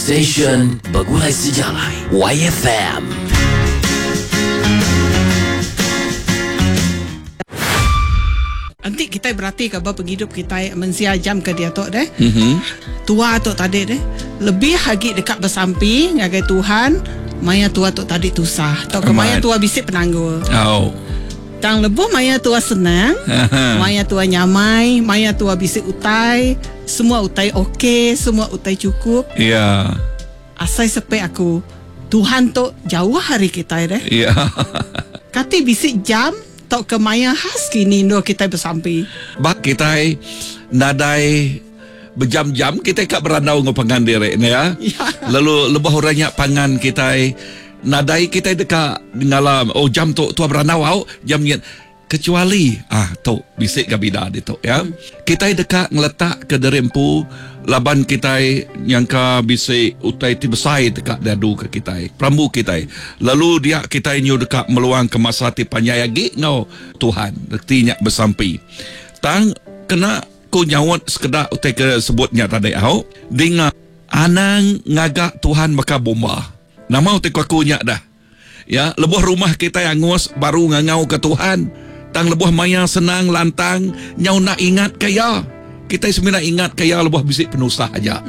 Station Begulai Sejalai YFM. Enti kitai beratika ba pengidup kitai mensia jam ke diatu deh. Tua tu tadi deh lebih agi deka besampi ngagai Tuhan maya tua tu tadi tusah tauka maya tua bisi penanggul. Au. Tang lebuh maya tua senang, maya tua nyamai, maya tua bisi utai, semua utai ok, semua utai chukup. Ya. Asai sepik aku, Tuhan tu jauh ari kitai deh. Ya. Kati bisi jam tauka maya khas kini endur kitai besampi? Ba kitai nadai bejam-jam kitai ka berandau enggau pangan diri ne ya. Lalu lebuh orang nya pangan kitai nadai kitai deka ngala oh jam tu tua berandau au jam nyin kecuali ah tu bisi ga bida ditu ya. Kitai deka ngeletak ke diri empu laban kitai nyangka bisi utai ti besai deka diadu ke kitai perambu kitai lalu dia kitai nyu deka meluang ke masa ti panjai agi enggau Tuhan reti nya besampi. Tang kena Ku nyaut sekeda utai ke sebut nya tadi au, dinga anang ngaga Tuhan baka bomba. Nama utai ku aku nya dah. Ya, lebuh rumah kitai angus baru ngangauka Tuhan. Tang lebuh maya senang lantang nyau enda ingatka iya. Kitai semina ingatka iya lebuh bisi penusah aja.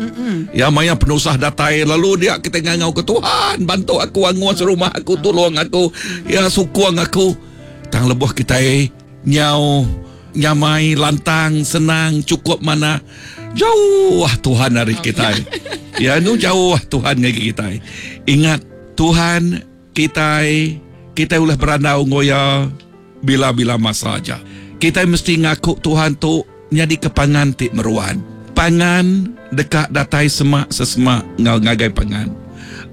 Ya, maya penusah datai lalu dia kitai ngangauka Tuhan bantu aku angus rumah aku tulung aku ya sukung aku. Tang lebuh kitai Nyau nyamai lantang senang chukup manah jauh Tuhan ari kitai. Ya anu jauh Tuhan ngagai kitai. Ingat Tuhan kitai kitai ulih berandau enggau iya bila-bila masa aja. Kitai mesti ngaku Tuhan tu nyadika pangan ti meruan. Pangan deka datai semak sesemak enggau ngagai pangan.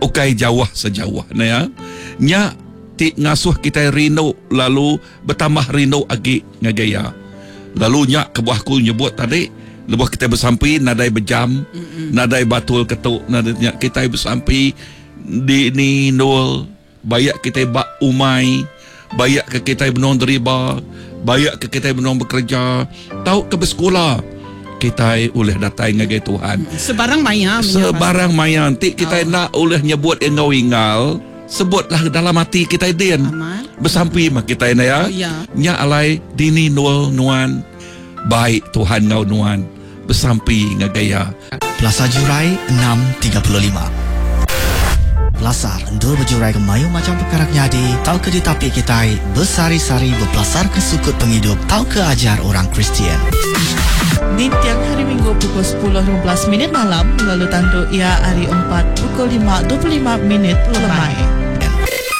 Ukai jauh sejauh ne ya. Nya ti ngasuh kitai rindu lalu betambah rindu agi ngagai Iya. Lalu nya kebuah aku nyebut tadi, lebuh kitai besampi nadai bejam, nadai batul ketu, nadai nya kitai besampi di ni endul bayak kitai ba umai, bayak ke kitai benung deriba, bayak ke kitai benung bekereja tauka besekula, kitai ulih datai ngagai Tuhan. Sebarang maya. Sebarang maya enti kitai enda ulih nyebut enggau inggal. Sebutlah dalam ati kitai din. Besampi mah kitai enda ya. Nya alai dini endur nuan bai Tuhan enggau nuan besampi ngagai iya. Pelasar Jurai 6:35. Pelasar endur bejurai ke mayuh macham pekara ke nyadi tauka ditapi kitai besehari-sehari bepelasarka sukut pengidup tauka ajar orang Kristian. Ninting Hari Minggu pukul 10:15 minit malam lalu tandu iya hari Empat pukul 5:25 minit lemai.